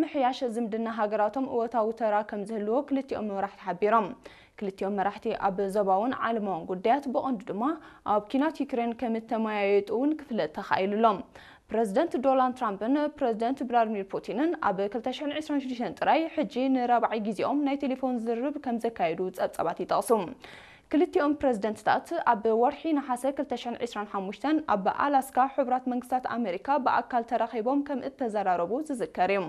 ምምሕያሽ ዝምድና ሃገራቶም እወታዊ ተራ ከም ዝህልዎ ክልቲኦም መራሕቲ ሓቢሮም። ክልቲኦም መራሕቲ ኣብ ዞባውን ዓለማውን ጉዳያት፣ ብቐንዱ ድማ ኣብ ኲናት ዩክሬን ከም እተመያየጡ እውን ክፍለጥ ተኻኢሉ ኣሎ። ፕረዚደንት ዶናልድ ትራምፕን ፕረዚደንት ቭላድሚር ፑቲንን ኣብ ክልተ ሽሕን ዕስራን ሽዱሽተን ጥራይ ሕጂ ንራብዓይ ግዜኦም ናይ ቴሌፎን ዝርርብ ከም ዘካየዱ ጸብጻባት ይጠቕሱ። ክልቲኦም ፕረዚደንትታት ኣብ ወርሒ ነሓሰ ክልተ ሽሕን ዕስራን ሓሙሽተን ኣብ ኣላስካ ሕቡራት መንግስታት ኣሜሪካ ብኣካል ተራኺቦም ከም እተዘራረቡ ዝዝከር እዩ።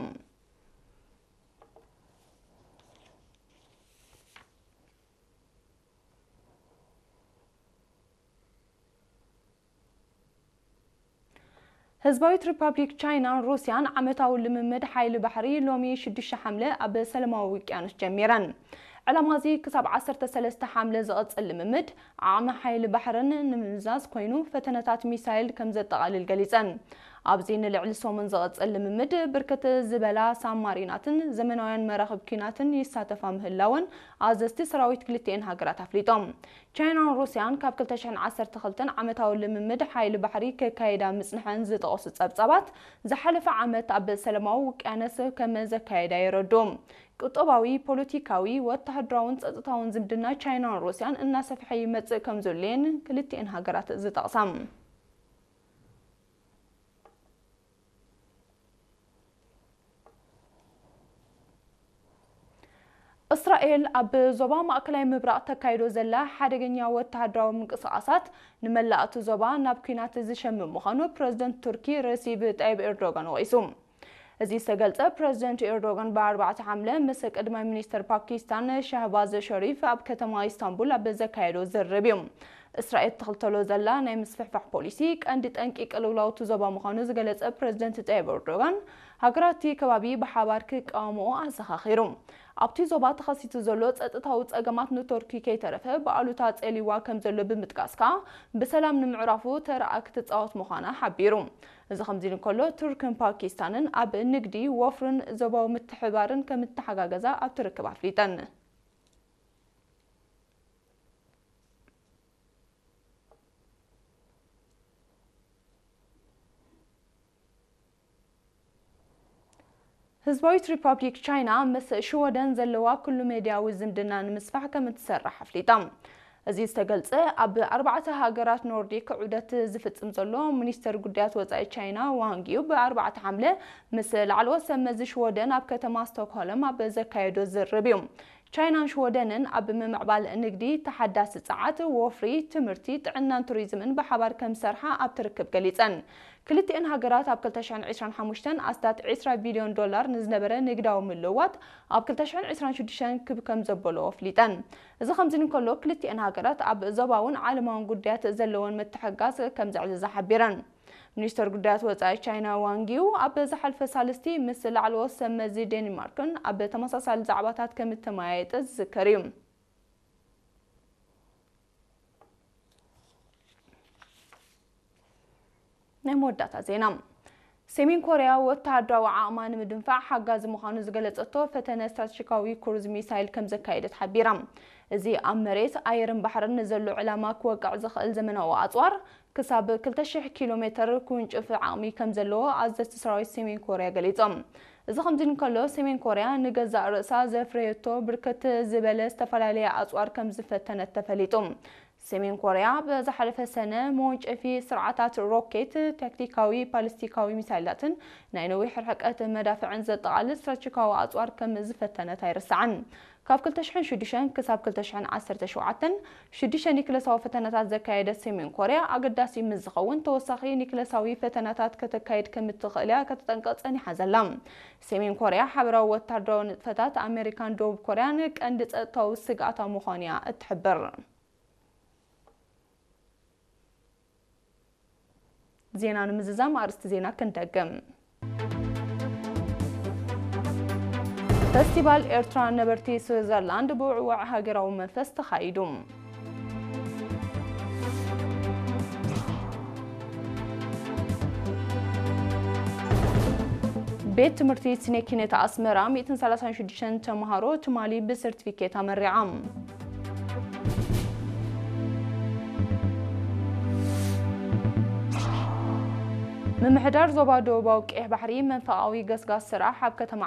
ህዝባዊት ሪፓብሊክ ቻይናን ሩስያን ዓመታዊ ልምምድ ሓይሊ ባሕሪ ሎሚ ሽዱሽተ ሓምለ ኣብ ሰላማዊ ውቅያኖስ ጀሚረን። ዕላማ እዚ ክሳብ ዓሰርተ ሰለስተ ሓምለ ዝቕጽል ልምምድ ዓቕሚ ሓይሊ ባሕርን ንምምዛዝ ኮይኑ፣ ፈተነታት ሚሳይል ከም ዘጠቓልል ገሊጸን። ኣብዚ ንልዕሊ ሰሙን ዝቕጽል ልምምድ ብርክት ዝበላ ሳብማሪናትን ዘመናውያን መራኽብ ኲናትን ይሳተፋ ምህላወን ኣዘዝቲ ሰራዊት ክልቲኤን ሃገራት ኣፍሊጦም። ቻይናን ሩስያን ካብ ክልተ ሽሕን ዓሰርተ ክልተን ዓመታዊ ልምምድ ሓይሊ ባሕሪ ከካይዳ ምጽንሐን ዝጠቐሱ ጸብጻባት፣ ዝሓለፈ ዓመት ኣብ ሰላማዊ ውቅያኖስ ከም ዘካየዳ የረድኡ። ቁጠባዊ፣ ፖለቲካዊ፣ ወተሃደራውን ጸጥታውን ዝምድና ቻይናን ሩስያን እናሰፍሐ ይመጽእ ከም ዘሎ እየን ክልቲኤን ሃገራት ዝጠቕሳ። እስራኤል ኣብ ዞባ ማእከላይ ምብራቕ ተካይዶ ዘላ ሓደገኛ ወተሃደራዊ ምንቅስቓሳት ንመላእ እቲ ዞባ ናብ ኲናት ዝሸምም ምዃኑ ፕረዚደንት ቱርኪ ረሲብ ጣይብ ኤርዶጋን ወቒሱ። እዚ ዝተገልጸ ፕረዚደንት ኤርዶጋን ብኣርባዕተ ሓምለ ምስ ቀዳማይ ሚኒስተር ፓኪስታን ሻህባዝ ሸሪፍ ኣብ ከተማ ኢስታንቡል ኣብ ዘካየዶ ዝርርብ እዩ። እስራኤል ትኽተሎ ዘላ ናይ ምስፍሕፋሕ ፖሊሲ ቀንዲ ጠንቂ ቅልውላው እቲ ዞባ ምዃኑ ዝገለጸ ፕረዚደንት ጣይብ ኤርዶጋን፣ ሃገራት እቲ ከባቢ ብሓባር ክቃወምኦ ኣዘኻኺሩ። ኣብቲ ዞባ ተኸሲቱ ዘሎ ጸጥታዊ ጸገማት ንቱርኪ ከይተረፈ ብኣሉታ ጸሊዋ ከም ዘሎ ብምጥቃስ ከኣ፣ ብሰላም ንምዕራፉ ተራኣ ክትጻወት ምዃና ሓቢሩ። እዚ ከምዚ እንከሎ፣ ቱርክን ፓኪስታንን ኣብ ንግዲ፣ ወፍርን ዞባዊ ምትሕብባርን ከም እተሓጋገዛ ኣብቲ ርክብ ኣፍሊጠን። ህዝባዊት ሪፓብሊክ ቻይና ምስ ሽወደን ዘለዋ ኩሉ ሜድያዊ ዝምድና ንምስፋሕ ከም እትሰርሕ ኣፍሊጣ። እዚ ዝተገልጸ፣ ኣብ ኣርባዕተ ሃገራት ኖርዲክ ዑደት ዝፍጽም ዘሎ ሚኒስተር ጉዳያት ወጻኢ ቻይና ዋንግ ዩ ብኣርባዕተ ሓምለ ምስ ላዕለዎት ሰብ መዚ ሽወደን ኣብ ከተማ ስቶክሆልም ኣብ ዘካየዶ ዝርርብ እዩ። ቻይናን ሽወደንን ኣብ ምምዕባል ንግዲ፣ ተሓዳሲ ጸዓት፣ ወፍሪ፣ ትምህርቲ፣ ጥዕናን ቱሪዝምን ብሓባር ከም ዝሰርሓ ኣብቲ ርክብ ገሊጸን። ክልቲኤን ሃገራት ኣብ ክልተ ሽሕን ዕስራን ሓሙሽተን ኣስታት ዕስራ ቢልዮን ዶላር ንዝነበረ ንግዳዊ ምልውዋጥ ኣብ ክልተ ሽሕን ዕስራን ሽዱሽተን ክብ ከም ዘበሎ ኣፍሊጠን። እዚ ከምዚ እንከሎ፣ ክልቲኤን ሃገራት ኣብ ዞባውን ዓለማውን ጉዳያት ዘለወን ምትሕግጋዝ ከም ዘዕዘዛ ሓቢረን። ሚኒስተር ጉዳያት ወጻኢ ቻይና ዋንግ ዩ ኣብ ዝሓልፈ ሳልስቲ ምስ ላዕለዎት ሰብ መዚ ዴንማርክን ኣብ ተመሳሳሊ ዛዕባታት ከም እተመያየጠ ዝዝከር እዩ። ናይ መወዳእታ ዜና። ሰሜን ኮርያ ወተሃደራዊ ዓቕማ ንምድንፋዕ ሓጋዚ ምዃኑ ዝገለጸቶ ፈተነ ስትራቴጂካዊ ክሩዝ ሚሳይል ከም ዘካየደት ሓቢራ። እዚ ኣብ መሬት፣ ኣየርን ባሕርን ንዘሎ ዕላማ ክወቅዕ ዝኽእል ዘመናዊ ኣጽዋር፣ ክሳብ ክልተ ሽሕ ኪሎ ሜተር ክውንጭፍ ዓቕሚ ከም ዘለዎ ኣዘዝቲ ሰራዊት ሰሜን ኮርያ ገሊጾም። እዚ ከምዚ እንከሎ፣ ሰሜን ኮርያ ንገዛእ ርእሳ ዘፍረየቶ ብርክት ዝበለ ዝተፈላለየ ኣጽዋር ከም ዝፈተነት ተፈሊጡ። ሰሜን ኮርያ ብዝሓለፈ ሰነ መወንጨፊ ስርዓታት ሮኬት፣ ታክቲካዊ ባሊስቲካዊ ሚሳይላትን ናይ ነዊሕ ርሕቀት መዳፍዕን ዘጠቓልል ስትራቴጂካዊ ኣጽዋር ከም ዝፈተነት ኣይርሳዕን። ካብ ክልተ ሽሕን ሽዱሽተን ክሳብ ክልተ ሽሕን ዓሰርተ ሸውዓተን ሽዱሽተ ኒክለሳዊ ፈተነታት ዘካየደት ሰሜን ኮርያ፣ ኣገዳሲ ምስ ዝኸውን ተወሳኺ ኒክለሳዊ ፈተነታት ከተካይድ ከም እትኽእል እያ ከተጠንቅቕ ጸኒሓ ዘላ። ሰሜን ኮርያ ሓበራዊ ወታደራዊ ንጥፈታት ኣመሪካን ደቡብ ኮርያን ቀንዲ ጸጥታዊ ስግኣታ ምዃኑ እያ እትሕብር። ዜና ንምዝዛም ኣርእስቲ ዜና ክንደግም። ፈስቲቫል ኤርትራ ነበርቲ ስዊዘርላንድ ብውዕዋዕ ሃገራዊ መንፈስ ተኻይዱ። ቤት ትምህርቲ ስነ ኪነት ኣስመራ ሚእትን ሰላሳን ሽዱሽተን ተምሃሮ ትማሊ ብሰርቲፊኬት ኣመሪዓም። ምምሕዳር ዞባ ደቡባዊ ቀይሕ ባሕሪ መንፈቓዊ ገስጋስ ስራሕ ኣብ ከተማ